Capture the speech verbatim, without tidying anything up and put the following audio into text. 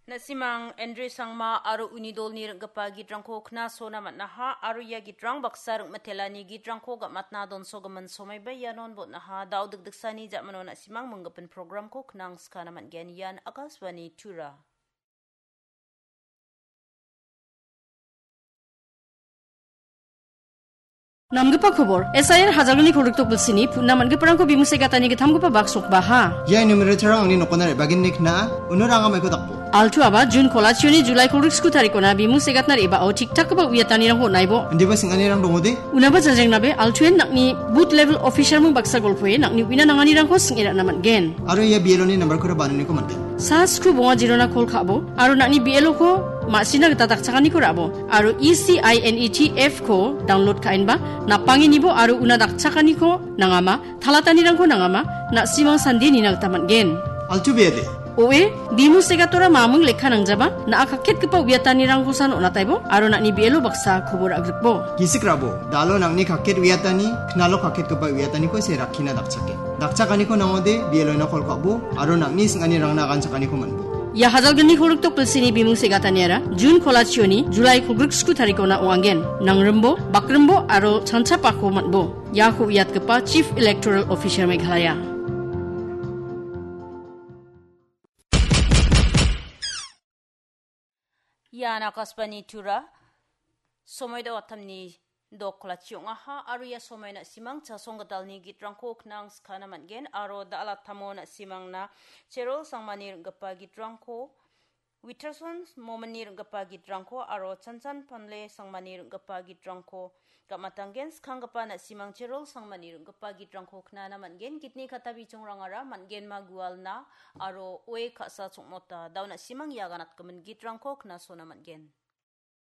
Na·simang Andre Sangma aro uni dolni ring·gipa gitrangko knasona man·aha aro ia gitrang baksa ring·mitelani gitrangko gam·atna donsogimin somaiba ianon botnaha. Da·o dikdiksani ja·mano na·simang minggipin programko knangskana man·gen. Ian Akashvani Tura. Namgipa kobor, S I R hajalgni kolgrikdok bilsini, putna man·giparangko bimusegatani gittamgipa bak sokbaha. Ia numerator-rang angni nokona re·bagenni kna·a, uno ranga maiko dakbo. Altu aba, Jun kolachioni Julai kolgrik sku tarikona bimusegatna re·bao tik-takgipa uiatanirangko on·aibo. Indiba sing·anirang dongode? Unaba janjrengnabe, Altuen nang·ni booth level officer-ming baksa golpoe nang·ni uina nanganirangko sing·e ra·na man·gen. Aro ia B L O-ni nambarkora bananiko man·gen. Sa skru bonga jirona kol ka·bo, aro nang·ni B L O-ko ma·sina gita dakchakaniko ra·bo, aro E C I N E T F-ko download ka·enba, napangenibo aro una dakchakaniko nangama, talatanirangko nangama, na·simang sande nina gita man·gen. Altu bede. O E, bimusegatora maming lekka nangjaba, na·a kaketgipa uiatanirangkosan on·ataibo, aro nang·ni B L O baksa kobor agrikbo. Gisik rabo, dalo nang·ni kaket uiatani, knalo kaketgipa uiataniko se rakkina dakchake. Dakchakaniko nangode, B L O-na kol ka·bo, aro nang·ni sing·anirangna aganchakaniko man·bo. Ia hajalgni kolgrikdok bilsini bimung segataniara, Jun kolachioni, Julai kolgrik sku tarikona ong·angen. Nangrimbo, bakrimbo, aro chanchapako man·bo. Iako uiatgipa Chief Electoral Officer Meghalaya. Ian Akashvani Tura, somoi da·o wattamni dok kolachi ong·aha, aro ia somoi na·simang chasong gitalni gitrangko knang skana man·gen, aro da·alattamo na·simangna Cherol Sangmani ring·gipa gitrangko, Witterson Mominni ring·gipa gitrangko, aro Chanchan Panle Sangmani ring·gipa gitrangko gam·atanggen. Skanggipa na·simang Cherol Sangmani ring·gipa gitrangko knana man·gen. Gitni kata bichongrangara man·genma gualna aro oe ka·sa chongmota. Da·o na·simang ia ganatgimin gitrangko knasona man·gen.